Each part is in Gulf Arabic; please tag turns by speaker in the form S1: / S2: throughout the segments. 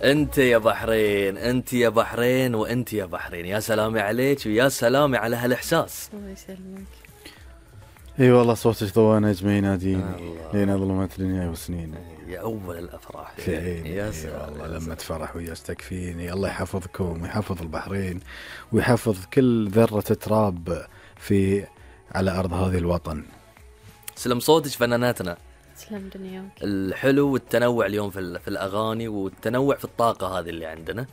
S1: انت يا بحرين، انت يا بحرين، وانت يا بحرين، يا سلامي عليك ويا سلامي على هالاحساس.
S2: الله يسلمك.
S3: اي والله صوتك ضوى نجمي يناديني لين ظلمت دنيا وسنين.
S1: يا اول الافراح
S3: في عيني.
S1: يا سلام
S3: والله لما تفرح وياك تكفيني. الله يحفظكم ويحفظ البحرين ويحفظ كل ذرة تراب في على ارض هذه الوطن.
S1: سلم صوتك فناناتنا.
S2: تسلم دنياك.
S1: الحلو والتنوع اليوم في الاغاني والتنوع في الطاقه هذه اللي عندنا،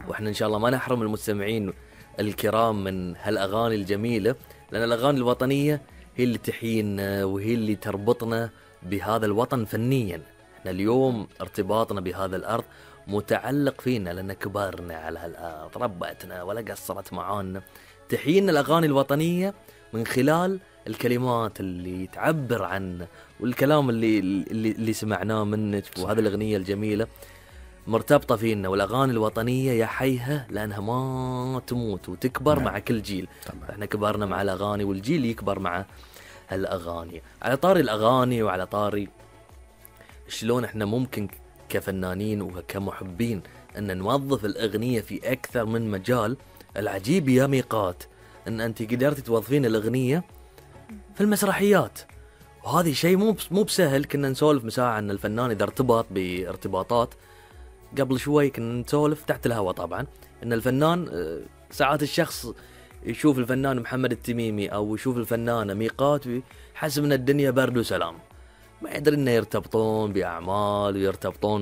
S1: واحنا ان شاء الله ما نحرم المستمعين الكرام من هالاغاني الجميله، لان الاغاني الوطنيه هي اللي تحيينا وهي اللي تربطنا بهذا الوطن فنيا. احنا اليوم ارتباطنا بهذا الارض متعلق فينا، لان كبرنا على هالارض، ربتنا ولا قصرت معانا. تحيينا الاغاني الوطنيه من خلال الكلمات اللي تعبر عن والكلام اللي سمعناه منك، وهذه الأغنية الجميلة مرتبطة فينا. والأغاني الوطنية يا حيها لأنها ما تموت وتكبر مع كل جيل. احنا كبرنا مع الأغاني والجيل يكبر مع هالأغاني. على طاري الأغاني وعلى طاري شلون احنا ممكن كفنانين وكمحبين أن نوظف الأغنية في أكثر من مجال، العجيب يا ميقات أن أنت قدرتي توظفين الأغنية في المسرحيات، وهذا شيء مو بسهل. كنا نسولف مساعة عن الفنان إذا ارتبط بارتباطات قبل شوي، كنا نسولف تحت الهواء طبعا إن الفنان ساعات الشخص يشوف الفنان محمد التميمي أو يشوف الفنانة ميقات ويحسب إن الدنيا برد وسلام، ما يدري إنه يرتبطون بأعمال ويرتبطون